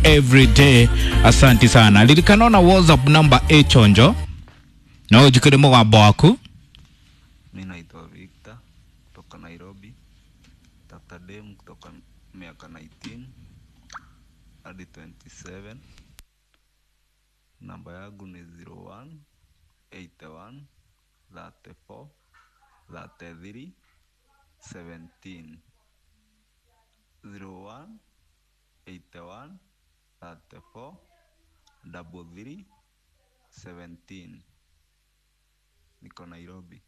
every day. Asanti sana. Ririkana na WhatsApp number ĩchonjo no njikĩre mũgambo waku. Mi naitwa Victor kutoka Nairobi. Tafuta dem kutoka miaka 19 hadi 27. Namba yangu ni 01 81 34 33 17. 01 81 34 33 17. Niko Nairobi.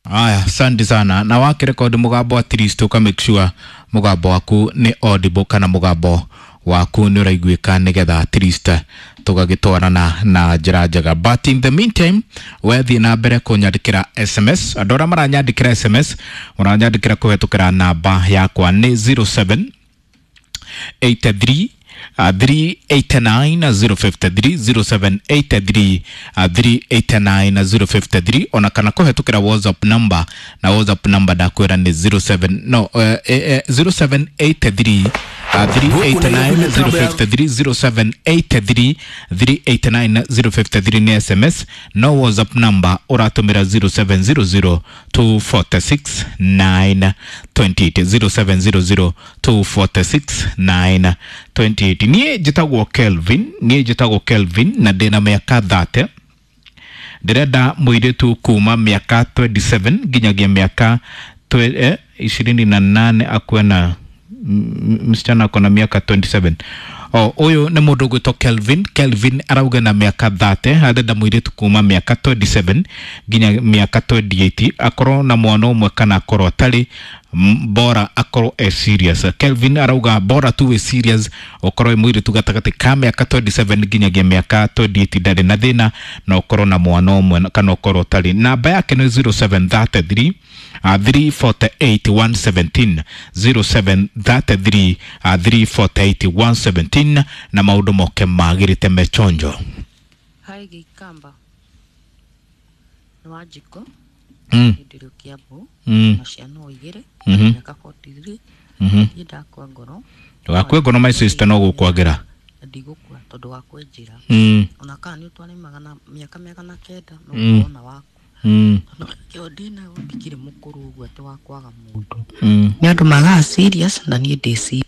Aya, asante sana. Na wakirekodi mugambo at least uka make sure mugambo waku ni audible kana mugambo waku ni ũraiguĩka nĩgetha at least tũgagĩtwarana na njĩra njega. But in the meantime, wethiĩ na mbere kũnyandĩkĩra SMS. Andũ arĩa maranyandĩkĩra SMS mũranyandĩkĩra kũhetũkĩra namba yakwa nĩ 07 83 389 053 0783 389 053 ona kana kũhetũkĩra WhatsApp number, na WhatsApp number ndakwĩra nĩ 07 no 0783 389 053 0783 389 053 nĩ SMS, no WhatsApp number ũratũmĩra 0700 246 928 0700 246 928. Niĩ njĩtagwo Kelvin, niĩ njĩtagwo Kelvin na ndĩna mĩaka 30. Ndĩrenda mũirĩtu kuma mĩaka 27 nginyagia mĩaka 28 akuwe na msichana ako na miaka 27. O ũyũ nĩ mũndũ ũgwĩtwo Kelvin. Kelvin arauga na mĩaka 30 arenda mũirĩtu kuma mĩaka 27 nginya mĩaka 28, akorwo na mwana ũmwe kana akorwo atarĩ, bora akorwo e serious. Kelvin arauga bora tu wĩ serious, ũkorwo wĩ mũirĩtu gatagatĩ ka mĩaka 27 nginyagia mĩaka 28, ndarĩ na thĩna, na ũkorwo na mwana ũmwe kana ũkorwo ũtarĩ. Namba yake nĩ 0733 348 117 0733 348 117 na maũndũ moke magĩrĩte mechonjo. Hi Gĩikamba, nĩ Wanjikũ. Ndĩ Kĩambu na ciana o igĩrĩ, mĩaka 43. Niĩ ndakua ngoro. Ndũgakue ngoro my sister, no gũkwagĩra. Na ndigũkua tondũ wa kwenjera, ona kana nĩ ũtware magana mĩaka 900 no ũkorwo na waku, tondũ kĩo ndĩnayo ndikĩrĩ mũkũrũ ũguo atĩ wa kwaga mũndũ. Nĩ andũ magaga serious na niĩ ndĩ serious.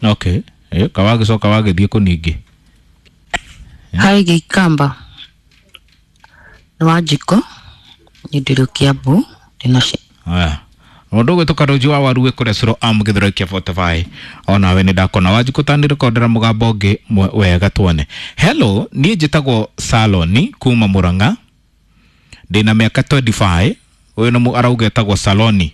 Okay, kawagĩcoka wagĩthiĩ kũ ningĩ? Hi Gĩikamba, nĩ Wanjikũ, niĩ ndĩ Kĩambu, ndĩna Aya, mũndũ ũgwĩtwo Karũnji wa Waru wĩ kũrĩa Cũrũ am gĩthũrai kĩa 45, onawe nĩ ndakona. Wanjikũ tanĩrekondera mũgambo ũngĩ wega tuone. Hello, niĩ njĩtagwo Saloni kuma Mũrang'a, ndĩna mĩaka 25. Ũyũ nĩ arauga etagwo Saloni.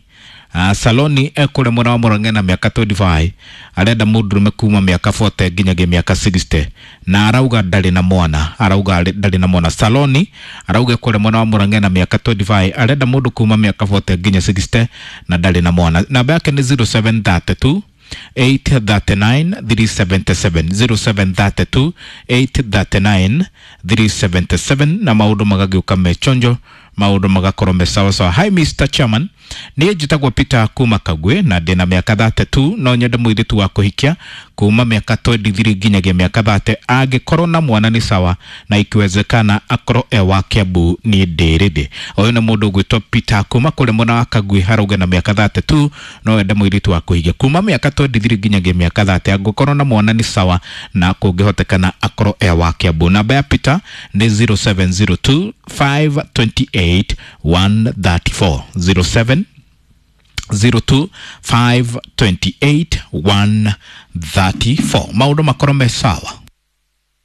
Saloni ekũrĩa mwena wa Mũrang'a na mĩaka 25, arenda mũndũrũme kuma mĩaka 40 nginyagia mĩaka 60, na arauga ndarĩ na mwana, arauga ndarĩ na mwana. Saloni arauga ekũrĩa mwena wa Mũrang'a na mĩaka 25, arenda mũndũ kuma mĩaka 40 nginya 60 na ndarĩ na mwana. Namba yake nĩ 0732 839 377 0732 839 377 na maũndũ magagĩũka mechonjo, maũndũ magakorwo me sawa sawa. Hi Mr. Chairman, niĩ njĩtagwo Peter kuma Kagwe na ndĩna mĩaka 32. No nyende mũirĩtu wa kũhikia kuma mĩaka 23 nginyagia mĩaka 30, angĩkorwo na mwana nĩ sawa, na ikiwezekana akorwo e wa Kiambu, niĩ ndĩ ready. Ũyũ nĩ mũndũ ũgwĩtwo Peter kuma kũrĩ mwena wa Kagwe, harauga na mĩaka 32 no ende mũirĩtu wa kũhikia kuma mĩaka 23 nginyagia mĩaka 30, angĩkorwo na mwana nĩ sawa, na kũngĩhotekana akorwo e wa Kiambu. Namba ya Peter nĩ 0702 528 134 07 02 528 134. Maũndũ makorwo me sawa.